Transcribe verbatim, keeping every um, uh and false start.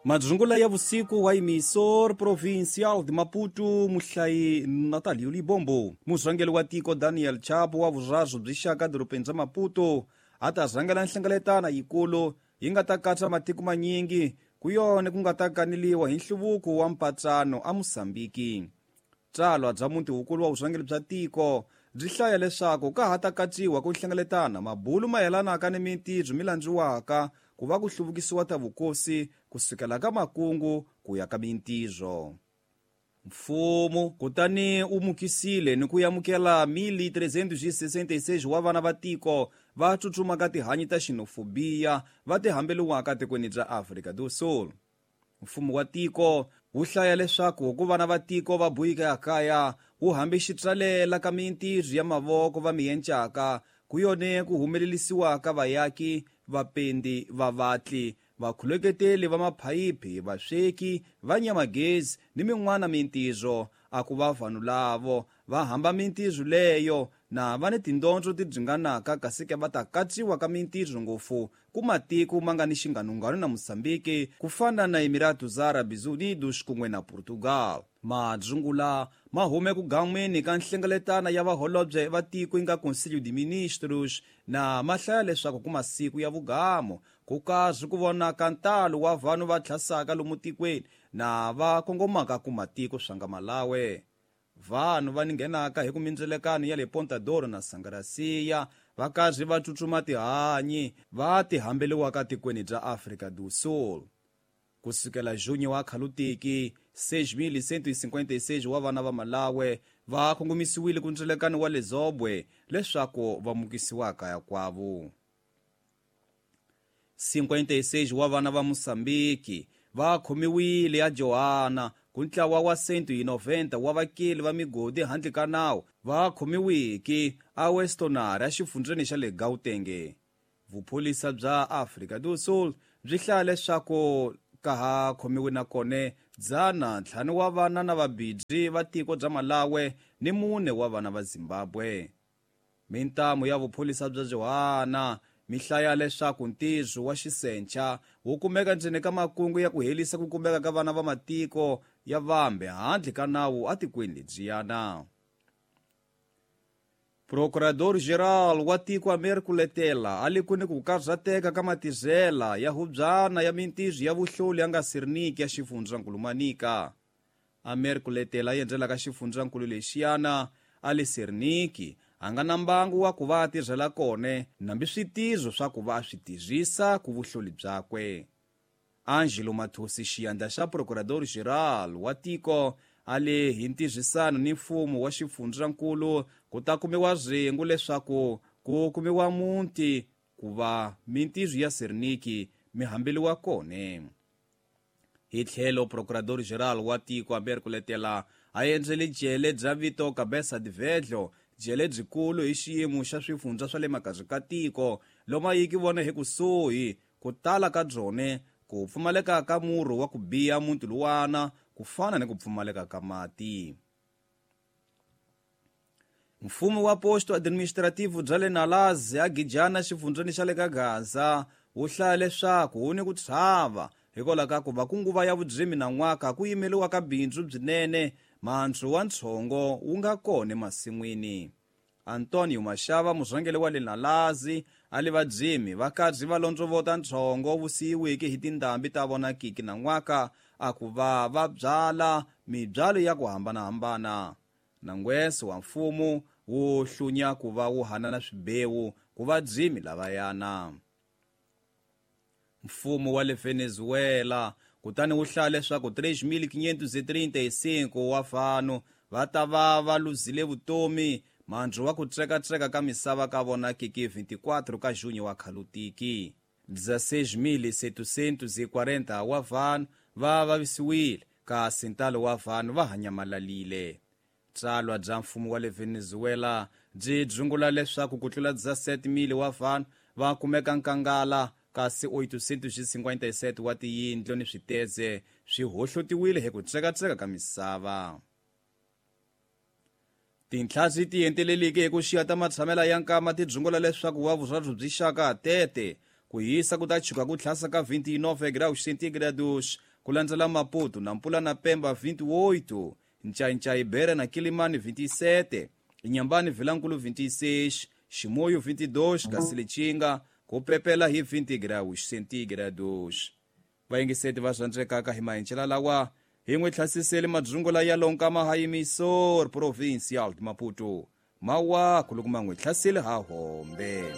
Madzungula ya vusiku wa emissor provincial de Maputo muhlayi Natalio Libombo. Murhangeri wa tiko Daniel Chapo wa vuraru byi xaka dorobeni ra Maputo a ta rhangela nhlengeletano yikulu yi nga ta katsa matiko manyingi ku yona ku nga ta kaneliwa hi nhluvuko wa mpatsano a Mozambiki. Tsalwa bya muti wukulu wa vurhangeri bya tiko byi hlaya leswaku ka ha ta katsiwa ku hlengeletana mabulu mayelanaka ni mintirho mi landziwaka ku va ku hluvukisiwa ta vukosi kusukela ka makungu ku ya ka mintirho. Mfumo kutani u mukisile ni ku amukela mil trezentos e sessenta e seis wa vana va tiko va tsutsumaka tihanyi ta xenofobiya va tihambeliwaka tikweni bya Afrika do Sul. Mfumo wa tiko wu hlaya leswaku ku vana va tiko va buyika kaya wu hambi xitsalela ka mintirho ya mavoko va miyencaka ku yone ku humelelisiwaka vayaki vapendi vavatli vakhuleketeli va maphayiphi vasweki va nyamagezi ni min'wana mintirho a ku va vanhu lavo va hamba mintirho leyo na va ni tindondzo ti dzinganaka kasi ke va ta katsiwa ka mintirho ngopfu ku matiko ma nga ni xinganungano na Mozambiki ku fana na Emiratos Árabes Unidos kun'we na Portugal. Madzungula ma hume ku gan'wini ka nhlengeletano ya vaholobye va tiko yi nga Conselho de Ministros na ma hlaya leswaku ku masiku ya vugamo ku karhi ku vonaka ntalo wa vanhu va tlhasaka lomu tikweni na va kongomaka ku matiko swa nga Malawi. Vanhu va ninghenaka hi ku mindzelekano ya le Ponta Doro na Sangarasiya va karhi va tsutsuma tihanyi va tihambeliwaka tikweni bya Afrika do Sul. Kusukela junho wa khalutiki seis mil cento e cinquenta e seis wa vana va Malawi va kongomisiwile ku ndzelekano wa le Zobwe leswaku va mukisiwa kaya kwavo. cinquenta e seis wa vana va Mozambiki va khomiwile ya Johanna ku ntlawa wa cento e noventa wa vakeli va migodi handle ka nawu va khomiwiki a Westonare exifundzheni xa le Gauteng. Vupholisa bya Afrika do Sul byi hlaya leswaku ka ha khomiwe na kone dzana ntlhanu wa vana na vabidzi va tiko bya Malawi ni mune wa vana va Zimbabwe. Mintamu ya vupholisa bya Johanna mi hlaya leswaku ntirho wa xisencha wu kumeka ndzeni ka makungu ya ku helisa ku kumeka ka vana va matiko ya vambe handle ka nawu atikweni lebyiyana. Procurador-Geral wa tiko Américo Letela a le ku ni ku karhateka ka matizela ya hubyana ya mintirho ya vuhloli ya nga Sirniki ya xifundzankulu Manica. Américo Letela yi endlelaka xifundzankulu lexiyana a le Sirniki a nga na mbangu wa ku va a tirhela kone nambi switizo swa ku va a swi tirhisa ku vuhloli byakwe. Angelo Mathosi xiyandla xa Procurador-Geral wa tiko a le hi ntirhisano ni mfumo wa xifundzankulu ku ta kumiwa rhengu leswaku ku kumiwa muti ku va mintirho ya Sirniki mi hambeliwa kone. Hi tlhelo Procurador-Geral wa tiko Américo Letela a endzele jele bya vito Cabeça de Velho jele byikulu hi xiyimo xa swifundza swa le makazi ka tiko loma yi ki vona hi kusuhi ku tala ka byone ku pfumaleka ka murhu wa ku biya muti luwana ku fana ni ku pfumaleka ka mati. Mfumo wa posto administrativo bya le Nalazi a Gijana xifundzheni xa le ka Gaza wu hlaya leswaku wu ni ku tshava hikwalaho ka ku va ku nguva ya vudzimi na n'waka ku yimeliwa ka bindzu byinene mandzu wa ntshongo wu nga kona emasin'wini. Antonio Mashava murhangeri wa le Nalazi a le vadzimi va karhi va londzovota ntshongo wu siyiweke hi tindhambi ta vonakiki na n'waka a ku va va byala mibyalo ya ku hambanahambana. Nangweso wa mfumo wu hlunya ku va wu hanana swibewu ku vadzimi lavayana. Mfumo wa le Venezuela kutani wu hlaya leswaku três mil quinhentos e trinta e cinco wa vanhu va ta va va luzile vutomi mandzu wa ku tsekatseka ka misava ka vonakiki vinte e quatro ka junho wa khalutiki. dezesseis mil setecentos e quarenta wa vanhu va vavisiwile kasi ntalo wa vanhu va hanyamalalile. Tsalwa bya mfumo wa le Venezuela byi dzungula leswaku ku tlula dezessete mil wa vanhu va kumeka nkangala kasi oitocentos e cinquenta e sete wa tiyindlu ni switeze swi hohlotiwile hi ku tsekatseka ka misava. Tintlhasi ti enteleleke hi ku xiya ta matshamela ya nkama ti dzungula leswaku wa vurharhu byi xaka tete ku hisa ku ta chuka ku tlhasa ka vinte e nove graus centígrados Ku landzela Maputo, Nampula na Pemba vinte e oito, Ncainca, Beira na Quilimane vinte e sete, Inhambane, Vilankulo vinte e seis, Chimoio vinte e dois, kasi Lichinga ku pepela hi vinte graus centígrados. Vayingiseti va rhandzekaka, hi mahencela lawa hi n'wi tlhasiseli madzungula ya lonkama ha emissor provincial de Maputo. Mawaku loko ma n'wi hlaseli ha hombe.